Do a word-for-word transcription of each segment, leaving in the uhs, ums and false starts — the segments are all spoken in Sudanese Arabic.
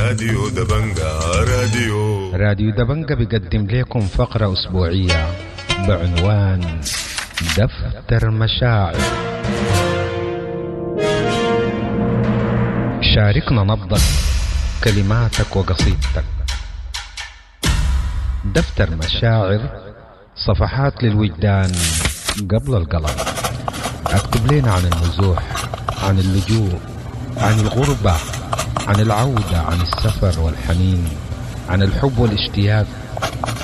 راديو دبنجا راديو راديو دبنجا بيقدم لكم فقرة أسبوعية بعنوان دفتر مشاعر. شاركنا نبضك، كلماتك وقصيدتك. دفتر مشاعر، صفحات للوجدان قبل القلم. اكتب لنا عن النزوح، عن اللجوء، عن الغربة، عن العودة، عن السفر والحنين، عن الحب والاشتياق،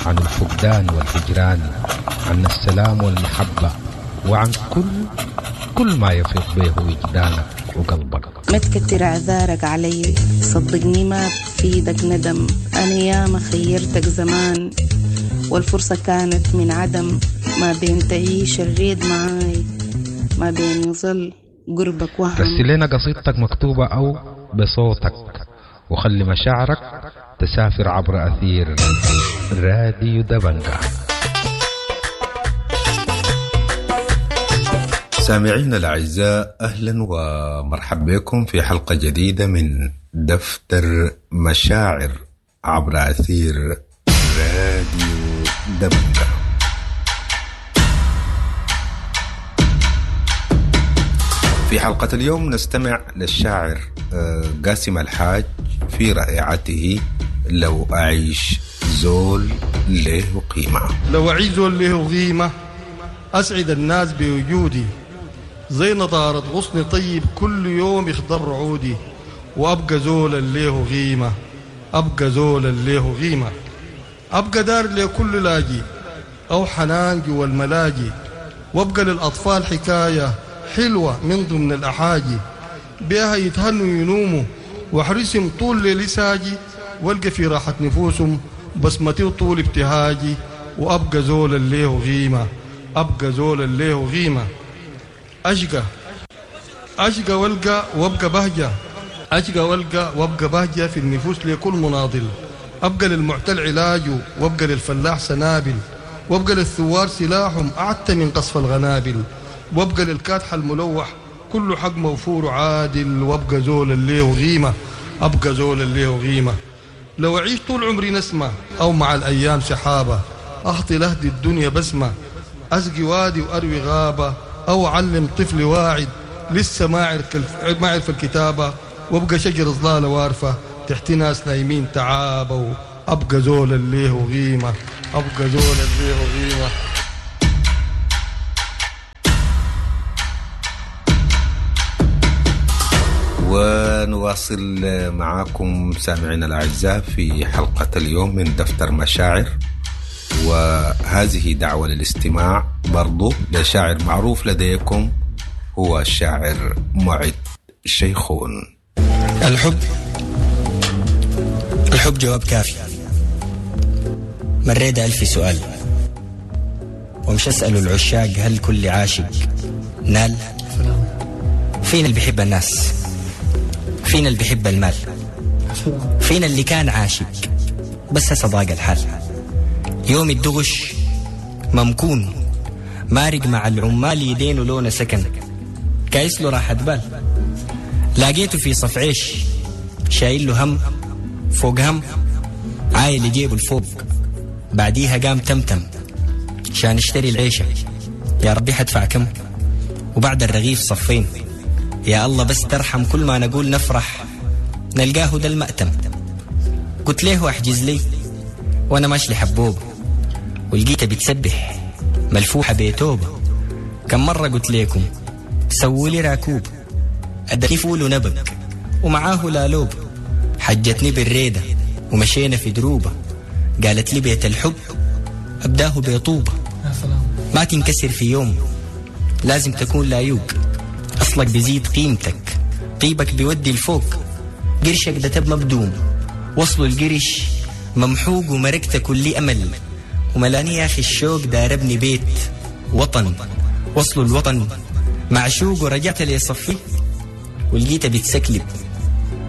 عن الفقدان والهجران، عن السلام والمحبة، وعن كل كل ما يفيض به وجدانك وقلبك. ما تكتر اعذارك علي، صدقني ما بفيدك ندم. انا ياما خيرتك زمان والفرصة كانت من عدم. ما بين تعيش الريد معاي، ما بين يظل قربك وهم. رسل لنا قصيدتك مكتوبة أو بصوتك، وخلي مشاعرك تسافر عبر أثير راديو دبنجا. سامعينا الأعزاء، أهلا ومرحبا بكم في حلقة جديدة من دفتر مشاعر عبر أثير راديو دبنجا. في حلقة اليوم نستمع للشاعر قاسم الحاج في رائعته لو أعيش زول له قيمة. لو أعيش زول له قيمة أسعد الناس بوجودي، زي نضارة غصن طيب كل يوم يخضر عودي، وأبقى زولا له قيمة، أبقى زولا له قيمة، أبقى دار لكل لاجي أو حنان جوا الملاجي، وأبقى للأطفال حكاية حلوة من ضمن الأحاجي، بها يتهنوا ينوموا واحرسهم طول ليلي ساجي، والقى في راحة نفوسهم بسمتي وطول ابتهاجي، وأبقى زولا له قيمة، أبقى زولا له قيمة. أشقى أشقى والقى وأبقى بهجة، أشقى والقى وأبقى بهجة في النفوس لكل مناضل، أبقى للمعتل علاجه وأبقى للفلاح سنابل، وأبقى للثوار سلاحهم أعتى من قصف الغنابل، وابقى للكادح الملوح كل حق موفور عادل، وابقى زول اللي قيمة، ابقى زول اللي قيمة. لو اعيش طول عمري نسمة او مع الايام سحابة، اخطي لهدي الدنيا بسمة، اسقي وادي واروي غابة، او اعلم طفل واعد لسه ما عرف ما عرف الكتابة، وابقى شجر ظلالة وارفة تحت ناس نايمين تعابة، وابقى زول اللي قيمة، ابقى زول اللي قيمة. ونواصل معاكم سامعينا الأعزاء في حلقة اليوم من دفتر مشاعر، وهذه دعوة للاستماع برضو لشاعر معروف لديكم، هو الشاعر معد شيخون. الحب الحب جواب كافي، مريت ألف سؤال ومش أسأل العشاق هل كل عاشق نال. فينا اللي بيحب الناس، فينا اللي بيحب المال، فينا اللي كان عاشق بس هسه ضاق الحال. يوم الدغش ممكون مارق مع العمال يدينه لونه سكن، كايس له راحة بال. لاقيته في صف عيش شايل له هم فوق هم، عايل يجيبه الفوق بعديها قام تمتم شان اشتري العيشة، يا ربي حدفع كم. وبعد الرغيف صفين، يا الله بس ترحم كل ما نقول نفرح نلقاه ده المأتم. قلت له احجز لي وانا ماشي لحبوب، ولقيته بتسبح ملفوحة بيتوبة. كم مرة قلت لكم سووا لي راكوب، اداني فول ونبق ومعاه لالوب، حجتني بالريدة ومشينا في دروبة، قالت لي بيت الحب أبداه بيطوبة، ما تنكسر في يوم لازم تكون لايوق، أصلك بيزيد قيمتك طيبك بيودي الفوق، قرشك ده تب مبدوم وصلوا القرش ممحوق، ومركت كل أمل وملاني يا أخي الشوق داربني بيت وطن، وصلوا الوطن معشوق، ورجعت لي صفي ولقيته بتسكلب.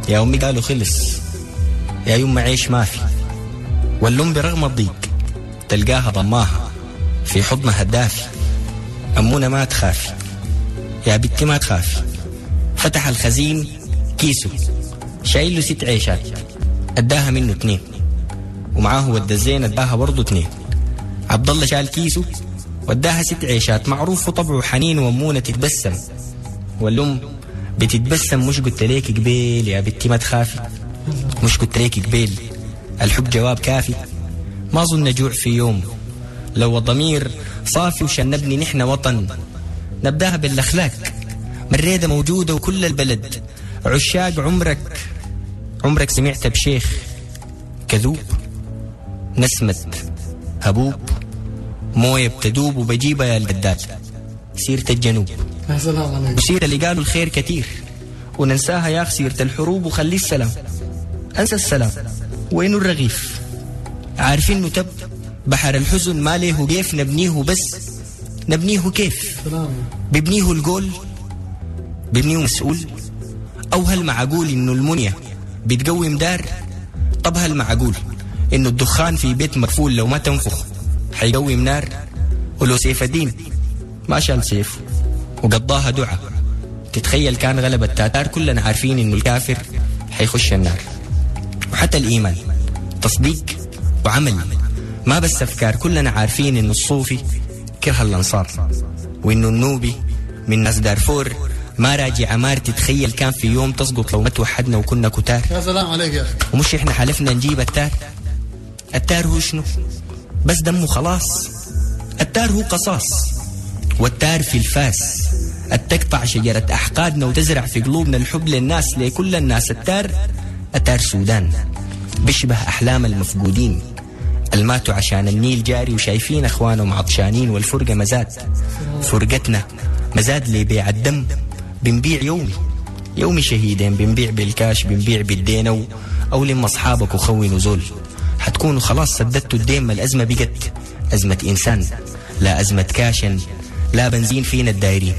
يا أمي قالوا خلص يا يوم عيش ما في، واللم برغم الضيق تلقاها ضماها في حضنها الدافي. أمونا ما تخافي يا بنتي ما تخافي، فتح الخزين كيسه شايل له ست عيشات، اداها منه اتنين، ومعاه ود الزين اداها برضه اتنين. عبد الله شال كيسه واداها ست عيشات، معروف وطبعه حنين وامونه تتبسم، والام بتتبسم. مش قلت ليك قبيل يا بنتي ما تخافي، مش قلت ليك قبيل الحب جواب كافي. ما اظن نجوع في يوم لو الضمير صافي، وشان نبني نحن وطن نبداها بالاخلاق. مريدة موجودة وكل البلد عشاق. عمرك عمرك سمعت بشيخ كذوب؟ نسمة هبوب مويه بتدوب وبجيبها يا القدال. سيرة الجنوب يا سلام عليك، وسيرة اللي قالوا الخير كتير وننساها يا أخ. سيرة الحروب وخلي السلام، أنسى السلام وينو الرغيف. عارفين إنه تب بحر الحزن ما ليه كيف نبنيه، بس نبنيه كيف؟ ببنيه الجول، ببنيه مسؤول؟ أو هل معقول إنه المنية بتقوم دار؟ طب هل معقول إنه الدخان في بيت مقفول لو ما تنفخ حيقوم نار؟ ولو سيف الدين ما شال سيف وقضاها دعاء، تتخيل كان غلب التاتار؟ كلنا عارفين إنه الكافر حيخش النار. وحتى الإيمان تصديق وعمل، ما بس أفكار. كلنا عارفين إنه الصوفي كره الأنصار، وإنه النوبي من ناس دارفور ما راجع عمار. تتخيل كان في يوم تسقط لو ما توحدنا وكنا كتار؟ يا سلام عليك يا أخي. ومش إحنا حلفنا نجيب التار؟ التار هو شنو؟ بس دمه خلاص. التار هو قصاص، والتار في الفاس التقطع شجرة أحقادنا وتزرع في قلوبنا الحب للناس، لكل الناس. التار التار سودان بيشبه أحلام المفقودين الماتوا عشان النيل جاري وشايفين أخوانهم عطشانين، والفرقة مزاد. فرقتنا مزاد لبيع الدم، بنبيع يومي يومي شهيدين، بنبيع بالكاش، بنبيع بالدين، أو, أو لما أصحابك وخونوا زول حتكونوا خلاص سددتوا الدين. ما الأزمة بقت أزمة إنسان، لا أزمة كاشن لا بنزين. فينا الدايرين،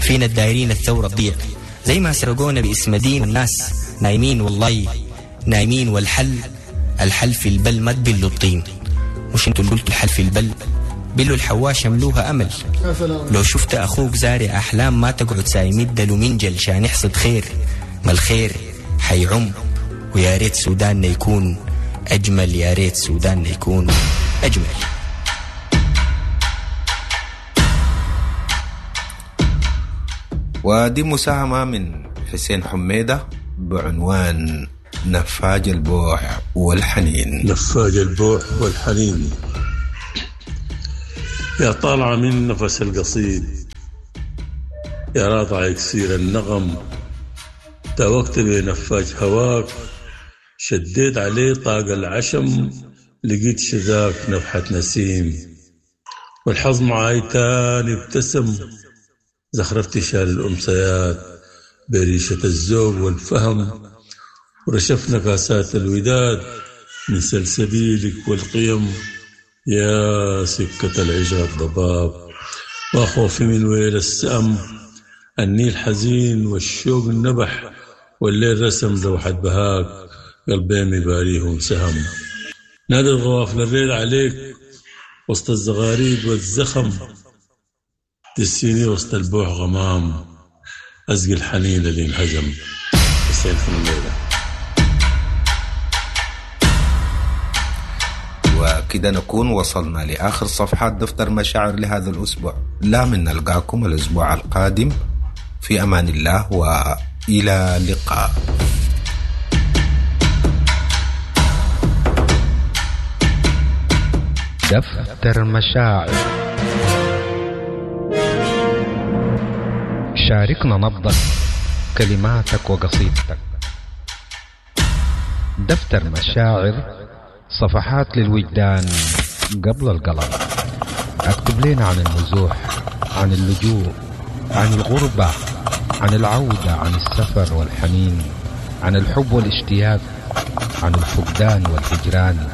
فينا الدايرين الثورة تضيع زي ما سرقونا باسم دين. الناس نايمين والله نايمين، والحل الحل في البل ما تبلوا الطين. مش انتوا اللي قلتوا الحل في البل؟ بلوا الحواشة ملوها أمل. لو شفت أخوك زارع أحلام ما تقعد سايمد له منجل شان يحصد خير، ما الخير حيعم. ويا ريت سوداننا يكون أجمل، يا ريت سوداننا يكون أجمل. ودي مساهمة من حسين حميدة بعنوان نفاج البوح والحنين. نفاج البوح والحنين، يا طالعة من نفس القصيد، يا راضع يكسير النغم، تاوقت بنفاج هواك، شديت عليه طاق العشم، لقيت شذاك نفحة نسيم، والحظ معاي تاني ابتسم، زخرفت شال الأمسيات بريشة الذوق والفهم، ورشفنا كاسات الوداد من سلسبيلك والقيم، يا سكة العشق الضباب وخوفي من ويل السأم، النيل حزين والشوق النبح، والليل رسم لوحة بهاك، قلبين يباريهم سهم، نادي الغوافل الريل عليك وسط الزغاريد والزخم، تسيني وسط البوح غمام، أزقي الحنين اللي انهزم. حسين حميدة. وكده نكون وصلنا لآخر صفحات دفتر مشاعر لهذا الأسبوع. لا من نلقاكم الأسبوع القادم في أمان الله، وإلى اللقاء. دفتر مشاعر، شاركنا نبضك، كلماتك وقصيدتك. دفتر مشاعر، صفحات للوجدان قبل القلم. اكتب لنا عن النزوح، عن اللجوء، عن الغربة، عن العودة، عن السفر والحنين، عن الحب والاشتياق، عن الفقدان والهجران،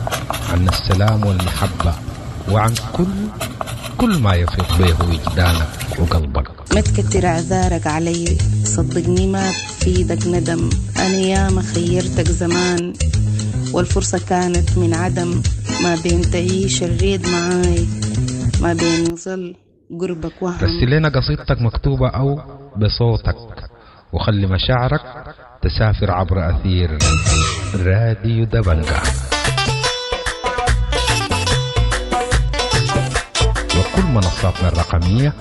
عن السلام والمحبة، وعن كل كل ما يفيض به وجدانك وقلبك. ما تكتر اعذارك علي، صدقني ما بفيدك ندم، انا ياما خيرتك زمان والفرصة كانت من عدم، ما بين تعيش الريد معاي، ما بين يظل قربك وهم. رسل لنا قصيدتك مكتوبة أو بصوتك، وخلي مشاعرك تسافر عبر أثير راديو دبنجا وكل منصاتنا الرقمية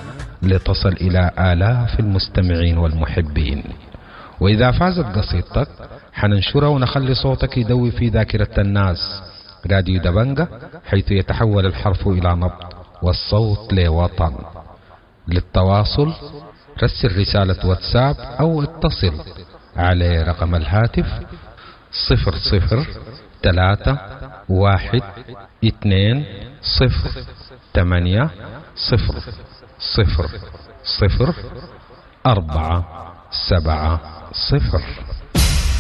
لتصل إلى آلاف المستمعين والمحبين. وإذا فازت قصيدتك حننشرها ونخلي صوتك يدوي في ذاكرة الناس. راديو دبنجا، حيث يتحول الحرف إلى نبض والصوت لوطن. للتواصل رسل رسالة واتساب أو اتصل على رقم الهاتف صفر صفر ثلاثة واحد اثنين صفر ثمانية صفر صفر صفر أربعة سبعة صفر.